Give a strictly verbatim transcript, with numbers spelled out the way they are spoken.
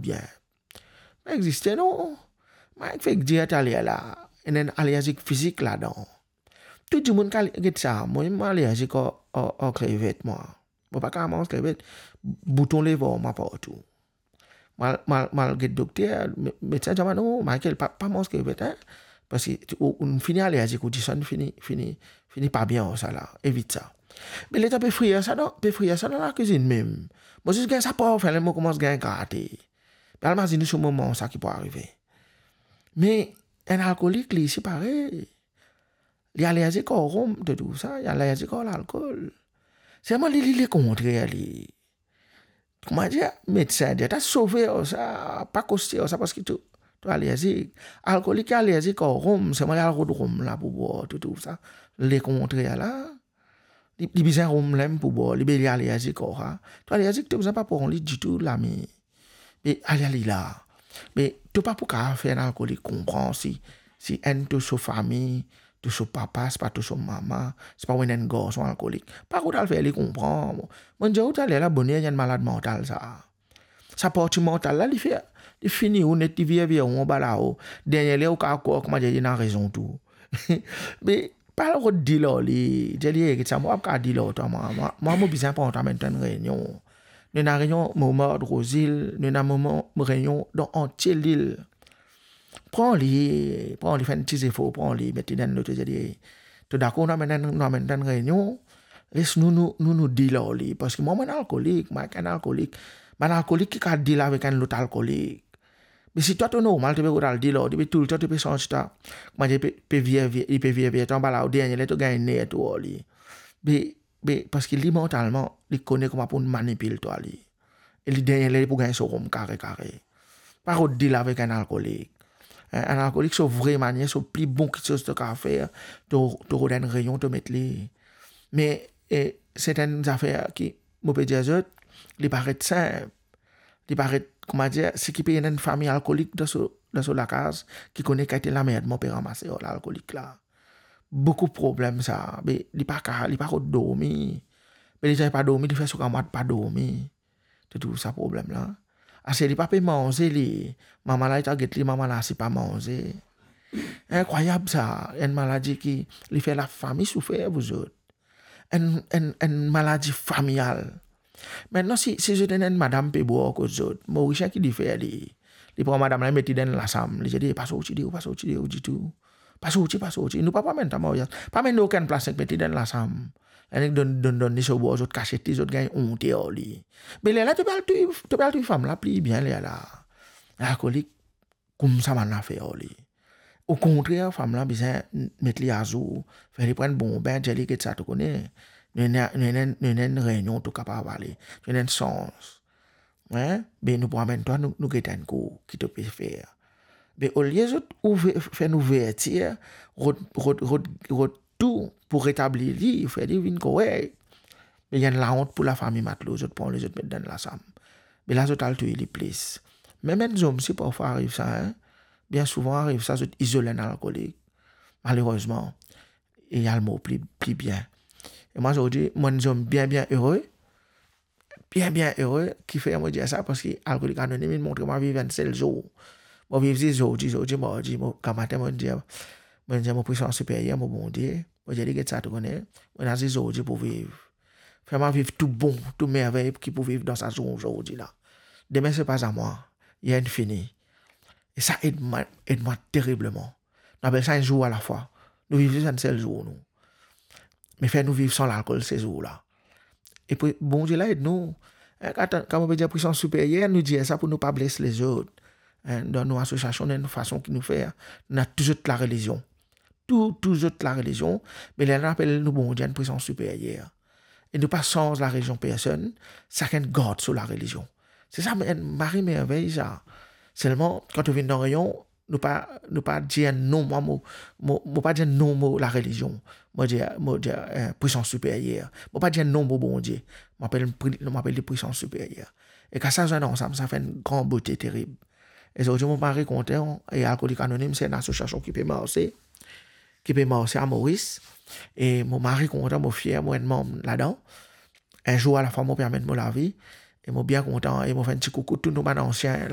bien. Pa existe non. Mo fek dir taler la, ena enn alerzik fizik ladan. Tou dimoun ki al-, get sa, mo, mo alerzik ar, ar, ar krevet, mwa. Mo pa kapav manz krevet. Bouton lev ar mwa partou. Mo al, mo al, mo al get dokter, me-, medsin dir mwa, "Non, Michael, pa, pa manz krevet, hein. Parski ou, ou fini alerzik, ou disann fini, fini, fini pa bien ar sa la. Evit sa." Me letan pe frir sa dan, pe frir sa dan lakizinn mem. Mo zis gagn sa parfin la, mo koumans gagn grate. Pe al mazinn ou so moman sa ki pou arive. Me enn alkolik, li, se parey. Li alerzik ar rom, to trouv sa, li alerzik ar lalkol. Selman li, li lekontrer, li. Kouma dir, medsin dir, ta sove ar sa, pa koste ar sa, parski to, to alerzik. Alkolik ki alerzik ar rom, selman li al rod rom la pou bwar, to trouv sa. Lekontrer la, li, li bizin rom la mem pou bwar, li, be li alerzik ar sa. To alerzik, to bizin pa pran li ditou, lami. Me ale, ale la. Me to pa pou kapav fer enn alkolik konpran si, si enn to so fami, to so papa, sipa to so mama, sipa ou ena enn garson alkolik. Pa kot al fer li konpran. Mo dir ou taler la, boner enn malad mantal sa. Sa parti mantal la, li fer, li fini ou net, li vir, vir ou anba lao. Dernie ler ou kapav krwar, kouma dir, li ena rezon tou. Me pa al rod dil ar li, dir li, "Ey, get sa, mo pa kapav dil ar twa, mwa, mwa, mwa, mo bizin pran twa amenn twa enn reynion. Nou ena reynion Montmartre, Rose Hill, nou ena moman reynion dan antie lil. Pran li, pran li, fer enn ti zefor, pran li, met li dan enn loto, dir li, to dakor, nou amenn, nou amenn twa enn reynion, les nou, nou, nou, nou dil ar li, parski mwa, mo enn alkolik, mwa, enn alkolik, bann alkolik ki kapav dil avek enn lot alkolik." Me si twa to normal, to pe rod al dil ar li, be toultan to pe santi twa, kouma dir, pe, pe vir, vir, li pe vir, vir twa anba lao, dernie ler to gagn ner tou ar li. Be, be, parski li mantalman, li kone kouma pou manipil twa li. E li dernie ler li pou gagn so rom kare, kare. Pa rod dil avek enn alkolik. Enn, enn alkolik, so vre manier, so pli bon kiksoz to kapav fer, to, to rod enn reynion, to met li. Me, e, se enn zafer ki, mo pe dir zot, li paret sinp. Li paret, kouma dir, seki pe ena enn fami alkolik dan so, dan so lakaz, ki kone kalite lanmerdman pe ranmase ar lalkolik la. Boukou problem sa, be li pa ka, li pa rod dormi. Be li pa dormi, li fer so kamwad pa dormi. To trouv sa problem la. Ase li pa pe manze li, mama la, li ta get li, mama la, si pa manze. Inkrwayab sa, enn maladi ki, li fer lafami soufer, vouzot. Enn, enn, enn maladi familial. Aster, si, si zot ena enn madam pe bwar kot zot, Morisien ki li fer li, li pran madam la, li met li dan enn lasam, li dir li, "Pa sorti deor, pa sorti deor ditou. Pa sorti, pa sorti. Nou pa pou amenn twa maryaz. Pa amenn li okenn plas, nek met li dan enn lasam. Nek donn, donn, donn li so bwar, zot kasiet li, zot gagn onte ar li." Me lerla to pe al touy, to pe al touy fam la pli bien lerla. Alkolik, koumsa bann la fer ar li. Okontrer, fam la bizin met li azour, fer li pran bon bin, dir li, "Get sa, to kone, nou ena, nou ena, nou ena enn reynion, to kapav ale, nou ena enn sans. Hein? Be nou pou amenn twa, nou, nou get enn kou ki to pe fer." Be olie zot ouver, fer enn ouvertir, rod, rod, rod, rod tou pou retabli li, fer li vinn korek. Me li enn laont pou lafami matlo, zot pran li, zot met dan lasam. Me la zot al touy li plis. Mem enn zom si parfwa ariv sa, hein. Bien souvan ariv sa, zot izol enn alkolik. Malerezman, e li al mor pli, pli bien. E mwa zordi, mo enn zom bien, bien ere. Bien, bien ere, kifer mo dir sa, parski Alkolik Anonim inn montre mwa viv enn sel zour. Mo viv zis zordi, zordi, mardi, mo, gramatin, mo dir, mo dir mo pwisans siperyer, mo Bondie, mo dir li, "Get sa, to kone, mo ena zis zordi pou viv. Fer mwa viv tou bon, tou mervey ki pou viv dan sa zour zordi la. Demin, se pa a mwa, li inn fini." E sa ed mwa, ed mwa teribleman. Nou apel sa enn zour alafwa. Nou viv zis enn sel zour, nou. Me fer nou viv san lalkol se zour la. E pou Bondie la ed nou. Hein, kan, kan mo pe dir pwisans siperyer, nou dir sa pou nou pa bles lezot. Hein, dan nou asosiasion, dan nou fason ki nou fer, nou ena touzour larelizion. Tou, touzour larelizion, me lerla nou apel nou Bondie enn pwisans siperyer. E nou pa sanz larelizion personn, sakenn gard so larelizion. Se sa, enn mari mervey sa. Selman, kan to vinn dan reynion, nou pa, nou pa dir non, mwa, mo, mo, mo pa dir non mo larelizion. Mo dir, mo dir, eh, pwisans siperyer. Mo pa dir non mo Bondie. Mo apel, mo apel li pwisans siperyer. E kan sa zwenn ansam, sa fer enn gran bote terib. E zordi mo mari kontan, e Alkolik Anonim se enn asosiasion ki pe marse, ki pe marse a Moris. E mo mari kontan, mo fier, mo enn manm ladan. Enn zour alafwa mo pe amenn mo lavi. E mo bien kontan, e mo fer enn ti koukou tou nou bann ansien la,